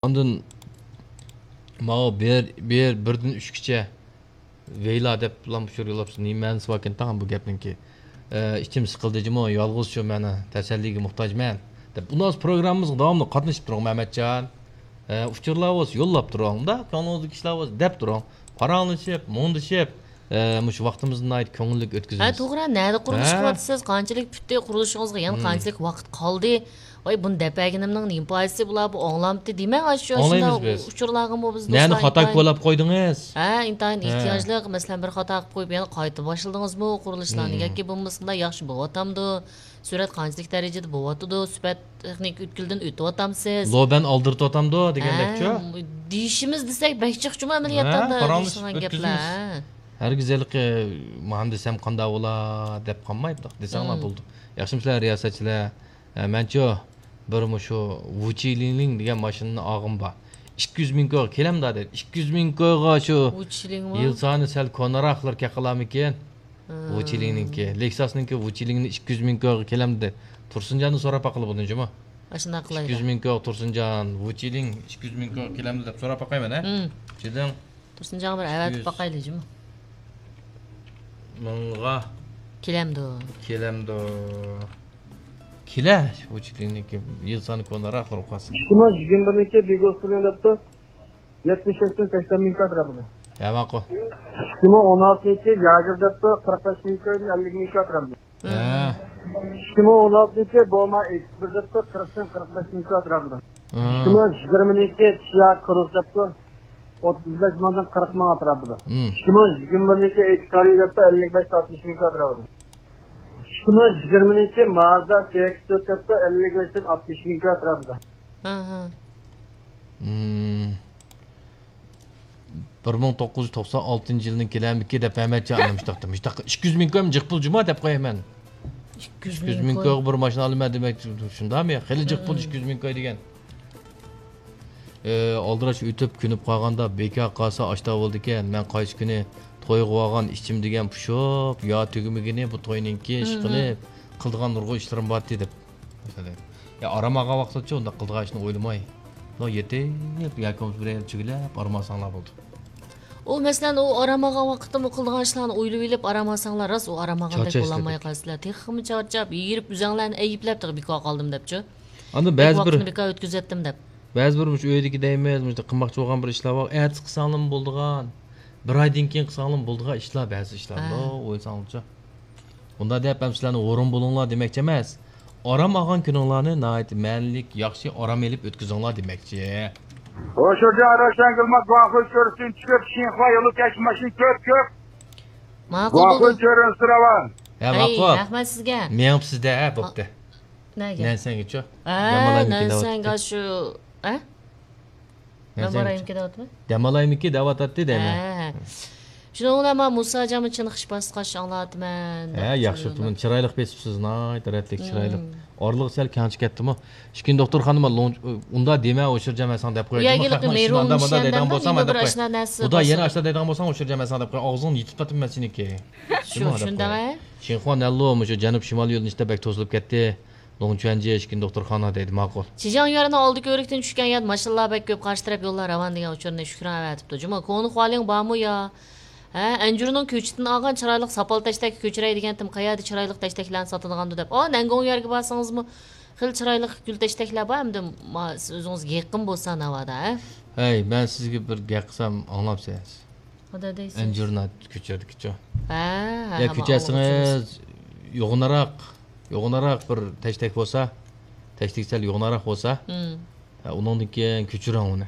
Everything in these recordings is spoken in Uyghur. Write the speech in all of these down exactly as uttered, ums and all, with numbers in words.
ئاندىن ماۋۇ بىر، بىر، بىردىن ئۈچكىچە ۋەيلا دەپ ئۇچۇر يوللاپسىز. نېمە مەنىسى باركىن تاغام بۇ گەپنىڭكى؟ ئە، ئىچىم سىقىلدى جۇمۇ، يالغۇز شۇ مەن تەسەللىگە موھتاجمەن دەپ. ئۇنداق پروگراممىمىزغا داۋاملىق قاتنىشىپ تۇرۇڭ مەمەتجان. ئە، ئۇچۇرلار بولسا يوللاپ تۇرۇڭ. مۇنداق كۆڭلىڭىزدىكى ئىشلار بولسا دەپ تۇرۇڭ. پاراڭلىشىپ، مۇڭدىشىپ، ئە، مۇشۇ ۋاقتىمىزنى ناھايىتى كۆڭۈللۈك ھە، ئۆتكۈزىمىز. توغرا، نەدە قۇرۇلۇش ھە. قىلىۋاتىسىز؟ قانچىلىك پۈتتى قۇرۇلۇشىڭىزغا؟ يەنە مم. قانچىلىك ۋاقىت قالدى؟ ۋاي، بۇنى دەپ بەرگىنىمنىڭ نېمە پايدىسى؟ بۇلار بۇ ئاڭلامتى دېمەڭ، ئاشۇ ئاڭلايمىز شۇنداق بىز. ئۇچۇرلارغىمۇ بىز نەنى دوستلار خاتا ئىنتايىن كوللاپ قويدىڭىز؟ ھە، ئىنتايىن ھە. ئېھتىياجلىق. مەسىلەن، بىر خاتا قىلىپ قويۇپ، يەنە قايتا باشلىدىڭىزمۇ قۇرۇلۇشلارنى؟ مم. ياكى بولمىسا ياخشى بولۇۋاتامدۇ؟ سۈرئەت قانچىلىك دەرىجىدە بولۇۋاتىدۇ؟ سۈپەت تېخنىكا ئۆتكىلىدىن ئۆتۈۋاتامسىز؟ لوبەن ئالدىرىتىۋاتامدۇ دېگەندەكچۇ؟ ھە، دېيىشىمىز دېسەك بەك جىقچىمۇ ئەمەلىيەتتە ھە، ئاندا پاراڭلىشىپ دېيىشىدىغان گەپلەر. ئۆتكۈزىمىز. ھە. ھەرگىز ھېلىقى مانا دېسەم قانداق بولا دەپ قالماي بۇنداق دېسەڭلار مم. بولىدۇ. ياخشىمۇسىلەر رىياسەتچىلەر؟ ھە، مەنچۇ بىر مۇشۇ ۋۇچىلىڭلىڭ دېگەن ماشىنىنى ئالغۇم بار. ئىككى يۈز مىڭ كويغا كېلەمدا دەپ. ئىككى يۈز مىڭ كويغا شۇ ۋۇچىلىڭمۇ؟ يىل سانى سەل كونىراقلار كېلىپ قالارمىكىن؟ ھە. ۋۇچىلىڭنىڭكى، لېكساسنىڭكى ۋۇچىلىڭنى ئىككى يۈز مىڭ كويغا كېلەمدۇ دەپ تۇرسۇنجاندىن سوراپ باققىلى بولىدۇ جۇمۇ. ئاشۇنداق قىلايلى. ئىككى يۈز مىڭ كويغا تۇرسۇنجان، ۋۇچىلىڭ ئىككى يۈز مىڭ كويغا كېلەمدۇ دەپ سوراپ باقاي مەن ھە. مم. جېدىڭ. تۇرسۇنجانغا بىر ئەۋەتىپ ئىككى يۈز. باقايلى جۇمۇ. مىڭغا كېلەمدۇ؟ كېلەمدۇ؟ كېلە، ۋۇچىلىڭنىڭكى يىل سانى كونىراق بولۇپ قالسۇن. ئىككى مىڭ يىگىرمە بىرنىڭكى بىگوسپىلىڭ دەپتۇ. يەتمىش ئۈچتىن سەكسەن مىڭ كوي ئەتراپىدا. ھە، ماقۇل. ئىككى مىڭ ئون ئالتىنچى ياگېر دەپتۇ، قىرىق بەش مىڭ كويدىن ئەللىك مىڭ كوي ئەتراپىدا. ھە. ئىككى مىڭ ئون ئالتىنچى بوما ئېكس بىر دەپتۇ، قىرىقتىن قىرىق بەش مىڭ كوي ئەتراپىدا. ھە. ئىككى مىڭ يىگىرمىنىڭكى تشيا كروس دەپتۇ، ئوتتۇز بەش مىڭدىن قىرىق مىڭ ئەتراپىدا. ھە. ئىككى مىڭ يىگىرمىنىڭكى ئېكس كارى دەپتۇ، ئەللىك بەش ئاتمىش مىڭ كوي ئەتراپىدا. ئىككى مىڭ يىگىرمىنىڭكى مازدا سىئېكس تۆت دەپتۇ، ئەللىك بەشتىن ئاتمىش مىڭ كوي ئەتراپىدا. ھە، ھە. ھىم. بىر مىڭ توققۇز يۈز توقسان ئالتىنچى يىلنىڭ كېلەمدىكى دەپ ئەمەتجان ئانا مۇشتاقتا. مۇشتاققا ئىككى يۈز مىڭ كويمۇ جىق پۇل جۇما دەپ قوياي مەن. ئىككى يۈز مىڭ كوي. ئىككى يۈز مىڭ كويغا بىر ماشىنا ئالىمەن دېمەك شۇندامۇ يا؟ خېلى جىق پۇل ئىككى يۈز مىڭ كوي دېگەن. ئە، ئالدىراش ئۆتۈپ كۆنۈپ قالغاندا بىكار قالسا ئاشتا بولىدىكەن. مەن قايسى كۈنى تويغا بارغان ئىچىم دېگەن پۇشۇپ، يا تۈگىمىگىنى بۇ توينىڭكى ئىشقىلىپ قىلىدىغان نۇرغۇن ئىشلىرىم بارتى دەپ. يا ئارام ئالغان ۋاقتىچۇ ئۇنداق قىلىدىغان ئىشنى ئويلىماي، مۇنداق يېتىپ ياكى بولمىسا بىر يەرگە چىگىلەپ ئارام ئالساڭلار بولدى. ئۇ مەسىلەن، ئۇ ئارام ئالغان ۋاقىتتا بۇ قىلىدىغان ئىشلارنى ئويلىۋېلىپ ئارام ئالساڭلار، راست ئۇ ئارام ئالغاندەك چارچاش بولالماي دېدۇق. قالىسىلەر. تېخىمۇ چارچاپ، ھېرىپ، ئۆزەڭلارنى ئەيىبلەپ، تېخى بىكار قالدىم دەپچۇ. ئاندىن بەك بەزى بىر، ۋاقىتنى بىكار ئۆتكۈزۈۋەتتىم دەپ. بەزى بىر مۇشۇ ئۆيدىكى دەيمىز، مۇشۇنداق قىلماقچى بولغان بىر ئىشلار بار. ئەتىسى قىلساڭلارمۇ بولىدىغان، بىر ئايدىن كېيىن قىلساڭلارمۇ بولىدىغان ئىشلار، بەزى ئىشلار. ھە. ئويلىساڭلارچۇ. ئۇنداق دەپ ھەم سىلەرنى ھۇرۇن بولۇڭلار دېمەكچى ئەمەس. ئارام ئالغان كۈنۈڭلارنى ناھايىتى مەنىلىك، ياخشى ئارام ئېلىپ ئۆتكۈزۈڭلار دېمەكچى. ھوشۇرجان روشەنگۈلمۇ گۇاڭخۇي چۆرىسىدىن چۈشۈپ، شىنخۇا يولى كەچ ماشىنا كۆپ كۆپ. ماقۇل گۇاڭخۇي بولدى. چۆرىسى راۋان. ھە، ھەي، ماقۇل. رەھمەت سىزگە. مېڭىپ سىزدە، ھە، بوپتۇ. نەگە؟ نەنسەنگىچۇ؟ ھە، دەم ئالايمىكىن نەنسەنگە دەۋاتاتتى. شۇ، ھە؟ نەنسەنگىچۇ؟ نەمارايىمكى دەۋاتىمەن. دەم ئالايمىكى دەۋاتاتتى دەيمەن. ھە، ھە. شۇنىڭ بىلەن مانا مۇساجانمۇ چېنىقىش باسقاچ ئاڭلاتىمەن ھە، دەپتۇ. ياخشى ئۇقتۇم. چىرايلىق بېسىپسىز، ناھايىتى رەتلىك، چىرايلىق. مم. ئارىلىق سەل كەڭچە كەتتىمۇ؟ ئىككىنچى دوختۇرخانىما لوڭ-، ئۇندا دېمە، ئوشۇرجان مەن ساڭا دەپ قوياي. يا، جۇمۇ يېلىقى خەقنىڭ ئىشىنى مېرۇڭ ئاندا ماندا مۇشەندەم دەيدىغان بار، بولساڭ، يېڭى مەن بىر دەپ قوياي. ئاشنا نەرسە ئۇدا يەنە بولسا. ئاشنا دەيدىغان بولساڭ، ئوشۇرجان مەن ساڭا دەپ قوياي. ئاغزىڭنى يېتىپ تاتىمەن سېنىڭكى. شۇ، جۇمۇ دەپ شۇنداق، قوياي. ھە؟ شىنخۇا نەنلۇ مۇشۇ جەنۇب شىمال يۆنىلىشىدە بەك توسۇلۇپ كەتتى. لوڭچۈەنجيې ئىككىنچى دوختۇرخانا دەيدۇ، ماقۇل. شىجاڭ يۈەننىڭ ئالدى كۆۋرۈكتىن چۈشكەن ياد ماشىنىلار بەك كۆپ، قارشى تەرەپ يوللار راۋان دېگەن ئۇچۇرنى شۈكران ئەۋەتىپتۇ. جۇمۇ، كونا خۇالىڭ بارمۇ يا؟ ھە، ئەنجۈرنىڭ كۆچىتىنى ئالغان چىرايلىق ساپال تەشتەككە كۆچۈرەي دېگەنتىم، قەيەردە چىرايلىق تەشتەكلەرنى ساتىدىغاندۇ دەپ. ئا، نەنگۇڭ يەرگە بارسىڭىزمۇ خېلى چىرايلىق گۈل تەشتەكلەر بار، ئەمدى ما-، سىز ئۆزىڭىزگە يېقىن بولسا ناۋادا، ھە؟ ھەي، مەن سىزگە بىر گەپ قىلسام ئاڭلامسىز؟ ئەنجۈرنى كۆچۈردىكىچۇ. ھە، ھە، يا ھە، كۆچەرسىڭىز يوغىنىراق، يوغىنىراق بىر تەشتەك بولسا، تەشتەك سەل يوغىنىراق بولسا، ھە، ئۇنىڭدىن كېيىن كۆچۈرۈڭ ئۇنى.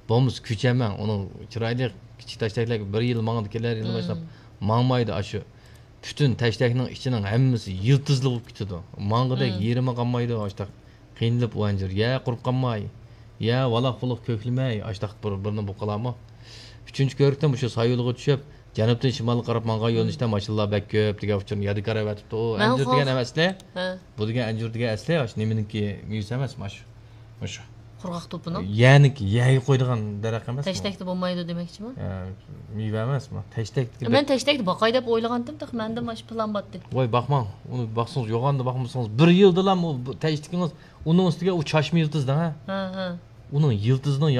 بولمىسا كۆچەرمەن، ئۇنىڭ چىرايلىق كىچىك تەشتەكلەر بىر يىل ماڭىدۇ كېلەر، يىل باشلاپ ماڭمايدۇ ئاشۇ. پۈتۈن تەشتەكنىڭ ئىچىنىڭ ھەممىسى يىلتىزلىق بولۇپ كېتىدۇ. ماڭغۇدەك يېرىمى قالمايدۇ ئاشتاق. قىينىلىپ ئۇ ئەنجۈر. يە قۇرۇپ قالماي، يە ۋالاق-پۇلۇق كۆكلىمەي، ئاشتاق بىر، بىرنى بۇ قىلارمۇ؟ ئۈچىنچى كۆۋرۈكتىن مۇشۇ سايۇلغا چۈشۈپ، جەنۇبتىن شىمالغا قاراپ ماڭغان يۆنىلىشتە ماشىنىلار بەك كۆپ دېگەن ئۇچۇرنى يادىكار ئەۋەتىپتۇ. ئەنجۈر دېگەن ئەمەسلى. ھە. بۇ دېگەن ئەنجۈر دېگەن ئەسلى ئاشۇ نېمىنىڭكى مېۋىسى ئەمەسمۇ ئاشۇ؟ مۇشۇ. قۇرغاق توپىنىڭ؟ يەرنىڭكى، يەرگە قويىدىغان دەرەخ ئەمەسمۇ؟ تەشتەكتە بولمايدۇ دېمەكچىمۇ؟ ھە، مېۋە ئەمەسمۇ؟ تەشتەكتىكى مەن تەشتەكتە باقاي دەپ ئويلىغانتىم، تېخى مەندە مانا شۇ پىلان بارتتى. ۋاي، باقماڭ، ئۇنى باقسىڭىز، يوغاندا باقمىسىڭىز، بىر يىلدىلا ئۇ تەشتىكىڭىز ئۇنىڭ ئۈستىگە ئۇ چاچما يىلتىز دەڭ، ھە؟ ھە، ھە. ئۇنىڭ يىلتىزىنىڭ